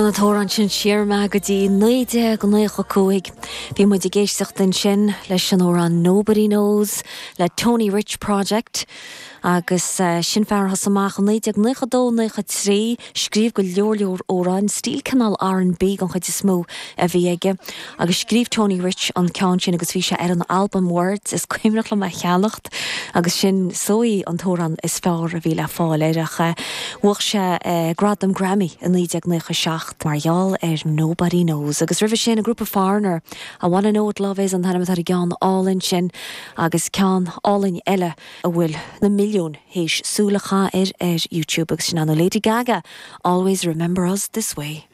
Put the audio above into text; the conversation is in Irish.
An t-amhrán sin siar mé go dtí 1995. Bhí muid ag éisteacht ansin leis an amhrán Nobody Knows le Tony Rich Project agus sin fear a thosaigh amach i 1992, 93, scríobh go leor leor amhráin, stíl cineál R&B den chuid is mó a bhí aige agus scríobh Tony Rich an ceann sin agus bhí sé ar an albam Words, is cuimhneach liom é a cheannacht. Agus sin is dóigh an t-amhrán is fearr a bhí le fáil air ach bhuaigh sé gradam Grammy i 1997 mar gheall ar Nobody Knows. Agus roimhe sin an grúpa Foreigner, I Wanna Know What Love Is an t-ainm atá ar an gceann álainn sin agus ceann álainn eile a bhfuil na milliúin théis súil a chaitheamh air ar YouTube agus sin ar ndóigh Lady Gaga, Always Remember Us This Way.